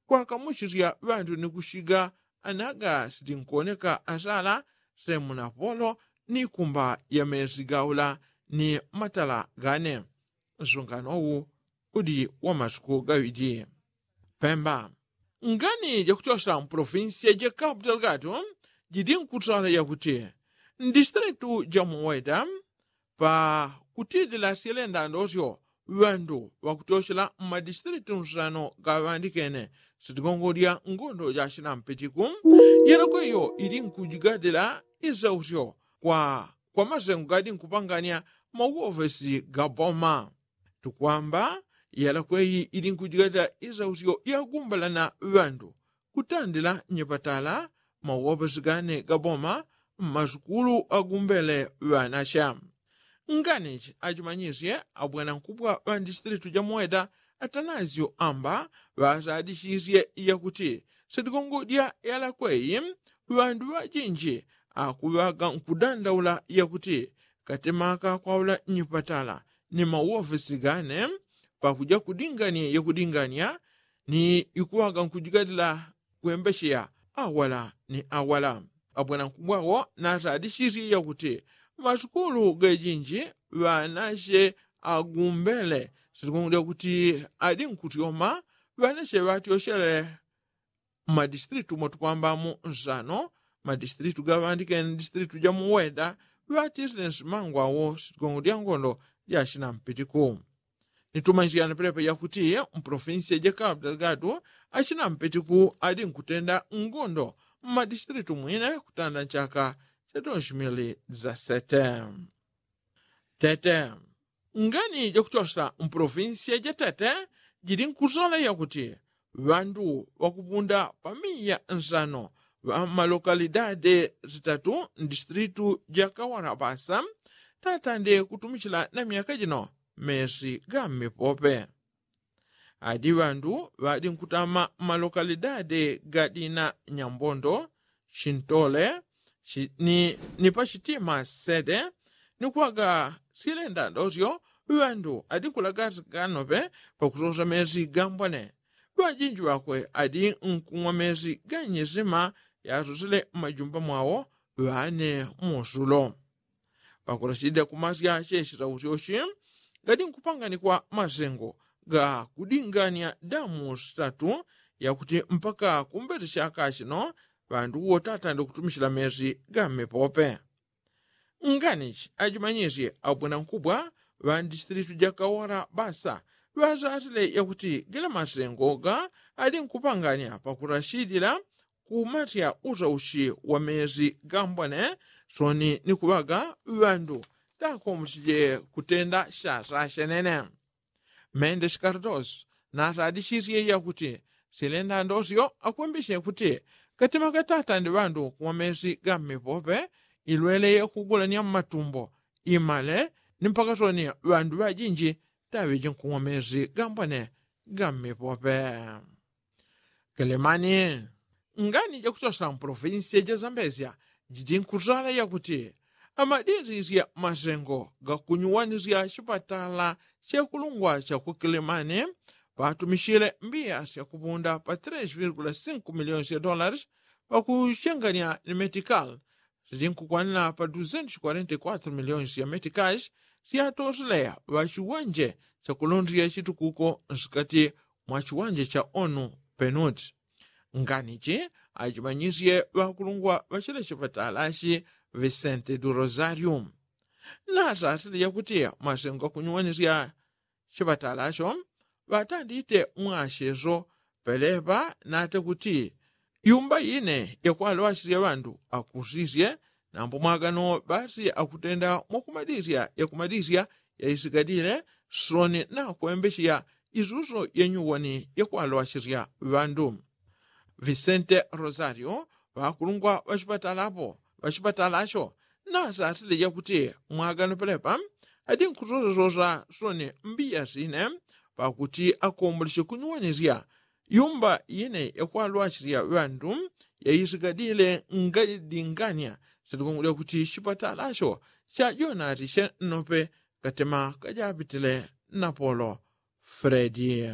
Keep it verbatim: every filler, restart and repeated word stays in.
kwakamuchisya ŵandu ni kushiga anaga sitinkoneka asala semu na polo ni kumba ya mesi gaula ni matala gane. Nsungano wu udi wa masuku gaŵidi. Pemba. Ngani jakuchosa mpolofinsiya ja kapu delgado jidi nkusala yakuti ndisitilitu ja muweda pa kutidila syelenda ndosyo ŵandu ŵakuchochela mmadisitilitu nsano gaŵandikene sitigongodya ngondo ja chinampitiku. Yelakweyo ili nkujigadila isausyo kwa kwa masengo gadi nkupanganya mawofesi ga boma. Tukwamba yalakweyi ili nkujigadila isausyo yagumbala na ŵandu kutandila nyepatala mawofesi gane ga boma mmasukulu agumbele ŵanasya. Nganichi achimanyisye abwanankubwa ŵa ndisitilitu ja muweda atanasyo amba ŵasadisisye yakuti sitigongodya yalakweyi ŵandu ŵajinji akuŵaga nkudandaula yakuti katemaka kwaula nyipatala ni mawofesi gane pakuja kudingania yakudingania ni ikuŵaga nkujigadila kwembesheya awala ni awala. Abwanankubwa wo nasadisisye yakuti masukulu gejinji ŵanasye agumbele sitigongodya kuti adi nkutyoma ŵanasye ŵatyochele mmadisitilitu motukwambamo nsano madisitilitu gaŵandikene ndisitilitu ja muweda ŵatisile nsimango awo sitigongo dya ngondo ja chinampitiku. Nitumanyisyana pelepa yakuti mpolofinsiya ja kapu delgado achinampitiku adi nkutenda ngondo mmadisitilitu mwine kutanda nchaka cha dos mili za sete. Tete. Ngani jakuchosa mpolofinsiya ja tete jili nkusola yakuti ŵandu ŵakupunda pa miya nsano ŵa mmalokalidade zitatu ndisitilitu ja kawarabasa tatande kutumichila na myaka jino mesi ga mmipope. Adi ŵandu ŵadi nkutama mmalokalidade ga dina nyambondo chintole ni pachitima sede ni kuŵaga silenda ndosyo ŵandu adi nkulagasika nope pakusosa mesi gambwane. Ŵajinji ŵakwe adi nkung'wa mesi ga nyisima yasosele mmajumba mwawo ŵane musulo. Pakulachidila kumasya chechitausyochi gadi nkupanganikwa masengo ga kudingania damu sitatu yakuti mpaka kumbete chaka chino ŵandu wo tatande kutumichila mesi ga mmipope. Nganichi ajimanyisye abwinankubwa ŵa ndisitilitu ja kawara basa ŵazatile yakuti gila masengo ga adi nkupangania pakulachidila kumasya usauchi wa mesi gambwane soni ni kuŵaga ŵandu takombochije kutenda shasha shenene. Mende shikardosi nasadisisye yakuti silenda ndosyo akwembeshe kuti katima katatande ŵandu kumwa mesi ga mmipope ilwele yakugulania mmatumbo imale ni mpaka soni ŵandu ŵajinji taŵiji nkumwa mesi gambwane ga mmipope. Kelemani. Ngani jakusosa mpolofinsiya ja zambesya jidi nkutala yakuti amadindisya masengo ga kunyuwanisya chipatala chekulungwa cha ku kelemani ŵatumichile mbiya syakupunda pa tres virgula sinku miliyoni sya dolari pakuchengania ni metikali sili nkukwanila pa duzentos kwarenta i kwatro miliyoni sya metikali syatoseleya ŵa chiwanje chakulondela chitukuko nsikati mwa chiwanje cha onu penuti. Nganichi achimanyisye ŵakulungwa ŵa chila chipatalachi visente du rosario nasasile yakuti masengo akunyuwanisya chipatalacho ŵatandite mwacheso pelepa nate kuti yumba ine yakwalwachisya ŵandu akusisye nambo mwagano basi akutenda mwakumadisya yakumadisya yaisikadile soni nakwembesheya isuso yanyuwani yakwalwachisya ŵandu. Visente rosario ŵakulungwa ŵachipatalapo ŵachipatalacho nasasile yakuti mwagano pelepa adi nkusosasosa soni mbiya sine pakuti akomboleche kunyuwanisya yumba ine yakwalwachisya ŵandu yaisikadile ngadingania sitikumwila kuti chipatalacho chajonati chennope katema kajapitile napolo fredi.